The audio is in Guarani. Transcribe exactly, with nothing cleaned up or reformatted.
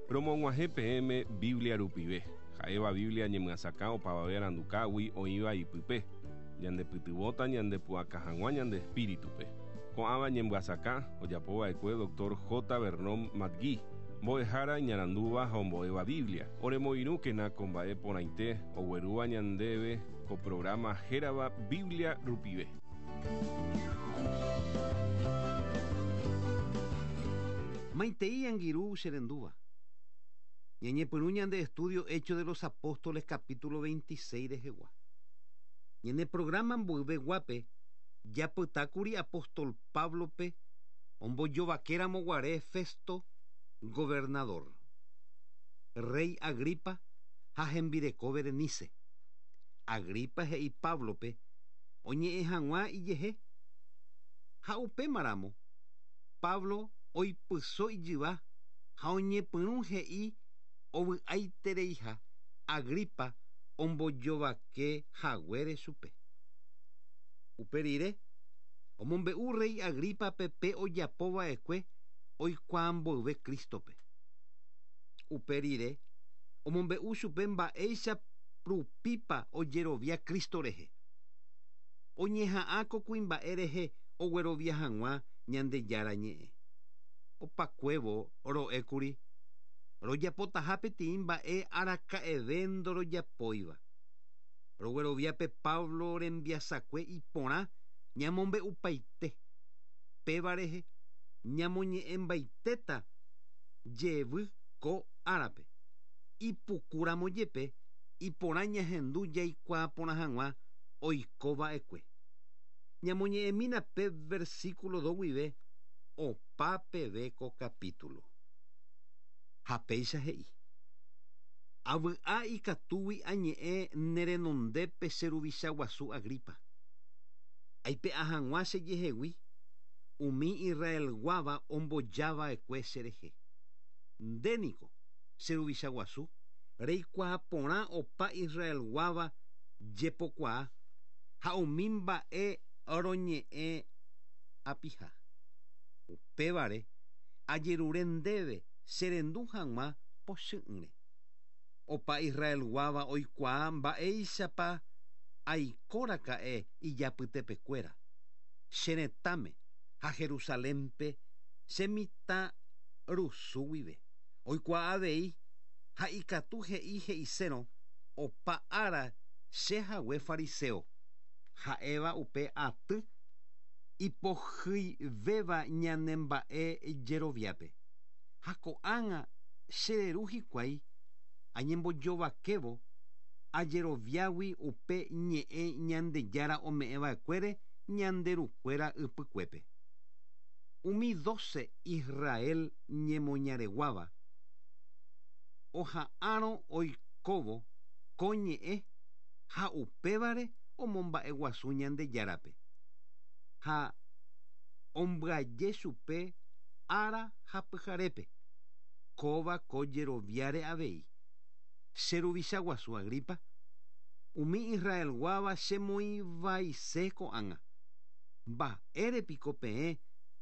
Romog̃uahẽ peẽme Biblia rupive. Ha'éva Biblia ñemyasakã opavave arandukágui oĩva ipype. Ñandepytyvõta ñandepu'aka hag̃ua ñande espíritupe. Ko'ãva ñemyasakã ojapova'ekue Doctor J. Vernon McGee, mbo'ehára iñarandúva ha ombo'éva Biblia. Oremoirũkena ko mba'e porãite oguerúva ñandéve ko programa hérava Biblia rupive. Maitei angirũ cherendúva. Ñañepyrũ ñande estudio Hechos de los Apóstoles capítulo veintiséis rehegua. Ñane programa mboyveguápe japytákuri apóstol Pablope ombojovakéramo guare Festo gobernador, rey Agripa ha hembireko Berenice. Agripa he'i Pablope oñe'ẽ hag̃ua ijehe ha upémaramo Pablo oipyso ijyva ha oñepyrũ he'i ovy'aitereiha Agripa ombojovake haguére chupe. Upe rire omombe'u rey Agripape pe ojapova'ekue oikuaamboyve Cristope. Upe rire omombe'u chupe mba'éicha rupípa ojerovia Cristo rehe. Oñeha'ã ko kuimba'e rehe oguerovia hag̃ua Ñandejára ñe'ẽ. Opakuévo ro'ékuri rojapotaha peteĩ mba'e araka'eve ndorojapóiva. Rogueroviápe Pablo rembiasakue iporã ñamombe'upaite. Péva rehe ñamoñe'ẽmbaitéta jevy ko árape. Ipukúramo jepe iporã ñahendu jaikuaa porã hag̃ua oikova'ekue. Ñamoñe'ẽmína pe versículo dos guive opa peve ko capítulo. Ha péicha he'i. Avy'a ikatúgui añe'ẽ nerenondépe che ruvicha guasu Agripa. Aipe'a hag̃ua chejehegui umi Israelguáva ombojava'ekue cherehe. Ndéniko che ruvicha guasu reikuaa porã opa Israelguáva jepokuaa ha umi mba'e roñe'ẽ apiha. Upévare ajerure ndéve cherendu hag̃ua pochy'ỹre. Opa Israelguáva oikuaa mba'éichapa aikoraka'e ijapytepekuéra. Che retãme ha Jerusalénpe che mitãrusu guive. Oikuaa avei ha ikatu he'i he'isérõ opa ára che hague fariseo. Ha'éva upe aty ipohyivéva ñanemba'e jeroviápe. Ha ko'ág̃a chereru hikuái añembojovakévo ajeroviágui upe ñe'ẽ Ñandejára ome'ẽva'ekuére ñanderukuéra ypykuépe. Umi doce Israel ñemoñareguáva oha'árõ oikóvo ko ñe'ẽ ha upévare omomba'eguasu Ñandejárape. Ha ombyaje chupe ára ha pyharépe. Kóva ko jeroviáre avei. Che ruvicha guasu Agripa, umi Israelguáva chemoĩvaise ko'ág̃a. Mba'érepiko peẽ